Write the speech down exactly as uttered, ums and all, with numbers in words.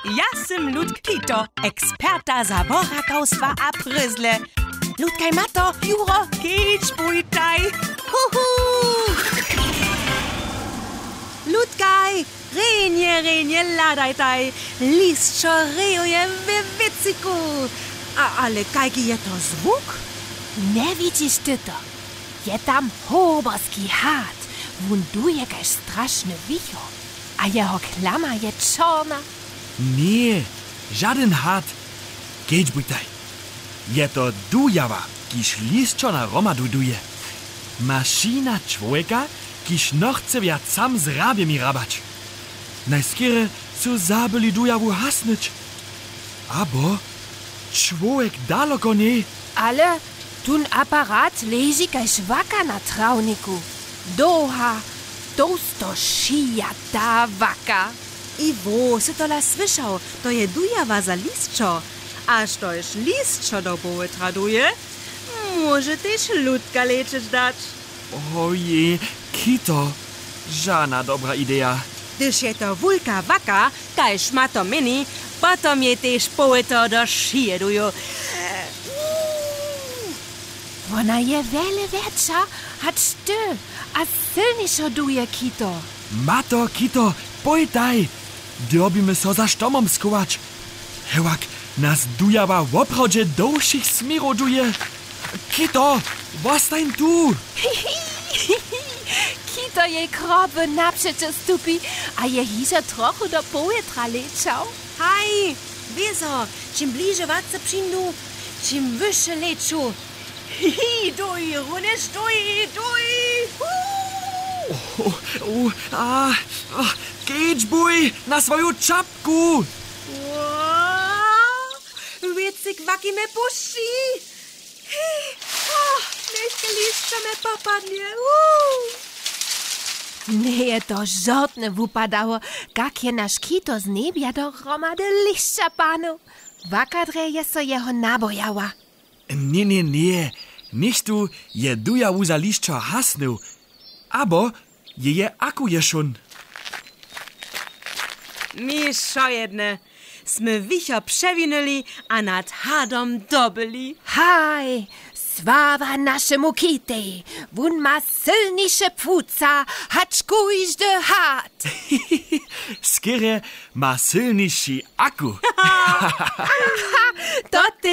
Ja sym Ludk Kito, eksperta za borakawstwa a pryzle. Ludkaj, Mato, Juro, kedźbujtaj. Huhu! Ludkaj, rjenje, rjenje hladajtaj. Lisćo rejuje we wěciku. A ale kajki je to zwuk? Njewidźiš ty to? Je tam hoberski had. Wón duje kaž strašny wichor. A jeho klama je čorna. Ně, žadyn had. Kedźbujtaj. Je to dujawa, kiž lisćo na hromadu duje. Mašina čłowjeka, kiž nochce wjac sam z hrabjemi hrabać. Najskerje su zabyli dujawu hasnyć. Abo čłowjek daloko njej. Ale tón aparat leži kaž waka na trawniku. Dołha, tołsto šijata waka. I wo, sy tola słyšał, to je dujawa za lisćo. A štož lisćo do poły traduje, móže tež Ludka lečeć dać. Ojej, Kito, žana dobra ideja. Hdyž je to wulka waka, kaž ma to měni, potom jej tež połyto do šije duju. Wona je wjele wjetša hač ty a sylnišo duje, Kito. Mato, Kito, pójtaj! Dyrbimy so za štomom schować. Hewak nas dujawa woprawdźe do wšěch směrow duje. Kito, wostań tu! Kito jej kroby napřećo stupi a je hižo trochu do powětra lečał. Haj, wězo, čim bliže watce přińdu, čim wyše leču. Hi, hi, duj, runjež duj, duj. Hu! O, o, a, a, kedźbuj na swoju čapku! Ła, wěcyk waki mje pušći. Hi, o, nětko lisćo mje popadnje. Hu! Njeje to žortnje wupadało, kak je naš Kito z njebja do hromady lisća panył. Waka drje je so jeho nabojała. Ně, ně, ně, něchtó je dujawu za lisćo hasnył, abo jeje aku je šón. Mi wšojedne, smy wichor přewinyli a nad hadom dobyli. Haj, sława našemu Kitej, wón ma sylniše płuca hač kóždy had. Skerje ma sylniši aku. To ty.